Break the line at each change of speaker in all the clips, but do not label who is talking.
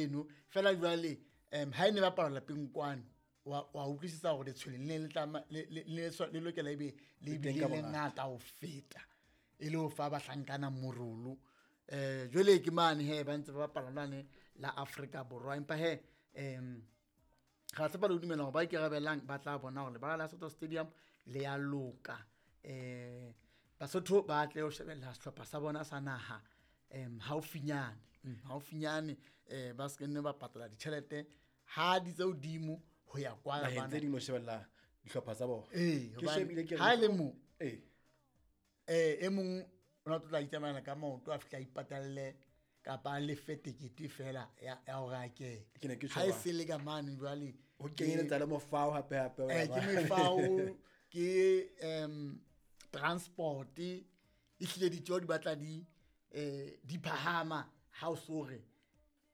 eno. Fela jwale ha e ne bapala lapeng kwano, wa utlwisisa hore letshwele le ne le tlama le lokela ebe le
Le teng
bile
ka
le
bongata.
ngata ho feta, e le ho fa bahlankana morolo. Jwale ke mane he ba ntse ba bapala lwane la Afrika Borwa, empa he ra tshepa le ho dumela hore ba ikarabelang ba tla bona hore lebala la Soweto Stadium le ya loka. Basotho ba tle ho shebella sehlopha sa bona sa naha haufinyane, haufinyane, ba se nne ba patala ditjhelete ha di tse hodimo ho ya kwa
Naheng
bana.
tse ding ho shebella dihlopha tsa bona.
Ee,
Ke
hobane
shebile ke re
ha e le mo,
Ee.
e mong o na tlo tla itsamaela ka maoto a fihla a ipatalle kapa a lefe tekete fela ya hore a kene.
Ke ne ke
Ha e
tjho
se le ka mane jwale
ho kenyeletsa le mofao hape hape o ya
ke
ba.
mefao, ke transport, e hlile ditjeho di batla di phahama ha o so re.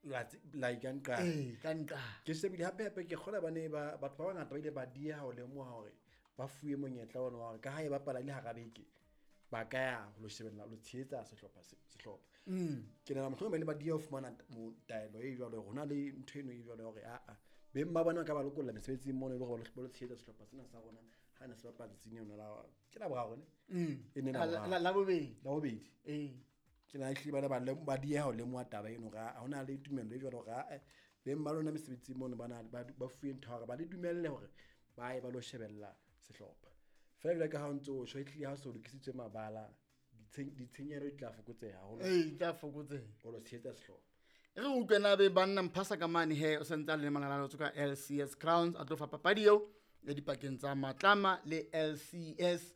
La la ka nqa.
Ee, ka nqa.
Ke shebile hape hape ke kgolwa ba ne ba, batho ba bangata ba ile ba dieha ho lemoha hore ba fuwe monyetla ona wa hore ka ha e bapala e le hara beke, ba ka ya ho lo shebella, ho lo tshehetsa sehlopha se, sehlopha. Ke nahana mohlomong ba ile ba dieha ho fumana taelo e jwalo, hore hona le ntho eno e jwalo ya hore, aa, beng ba bona ba ka ba lokolla mesebetsing mono e le hore ba lo tshehetsa sehlopha sena sa rona ha ne se bapala tsatsing leno la, ke la boraro ne? E ne la boraro.
La bobedi.
La bobedi.
Ee.
Ke nahana ehlile ba ne ba dieha ho lemoha taba eno hore ha hona le tumello e jwalo hore, aa, beng ba lona mesebetsing mono ba na, ba fuwe ntho ya hore ba le dumelle hore ba ye ba lo shebella sehlopha. Feela jwalo ka ha o ntso o tjho, ehlile ha o so lokisitswe mabala, ditshenyehelo di tla fokotseha haholo.
Ee, di tla fokotseha.
Ho lo tshehetsa sehlopha.
E re utlwe na be banna Mphasa ka mane he, o santse a le malala ka LCS Crowns, a tlo fa papadi eo e dipakeng tsa Matlama le LCS.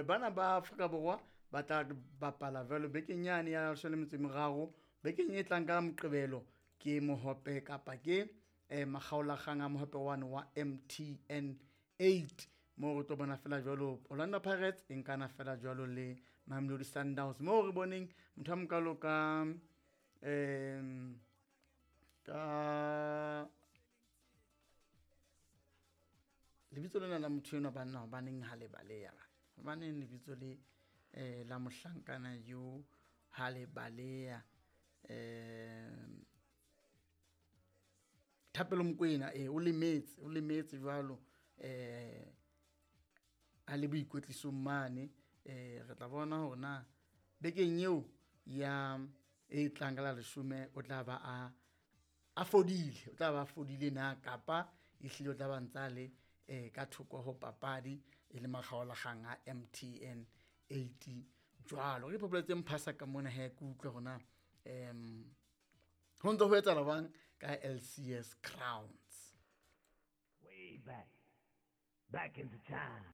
Bana ba Afrika Borwa ba tla bapala jwalo bekeng yane ya leshome le metso e meraro, bekeng e tlang ka Moqebelo ke mohope kapa ke makgaolakgang a mohope one wa MTN 8, moo re tlo bona fela jwalo Orlando Pirates e nkana fela jwalo le Mamelodi Sundowns, moo re boneng motho a mokalo ka lebitso lena la motho enwa banna, hobaneng ha le baleha ba? Hobaneng lebitso le la mohlankana yo ha le baleha? Thapelo Mokoena, o lemetse, o lemetse jwalo, a le boikwetlisong mane. Re tla bona hore na bekeng eo ya e tlang ka la leshome o tla ba a fodile, o tla ba a fodile na kapa ehlile o tla ba ntsa le ka thoko ho papadi e le makgaolakgang a MTN 8 jwalo. Re ipopoletse Mphasa ka mona he, ke utlwe hore na ho ntse ho etsahala jwang ka LCS Crowns.
Way back, back into time.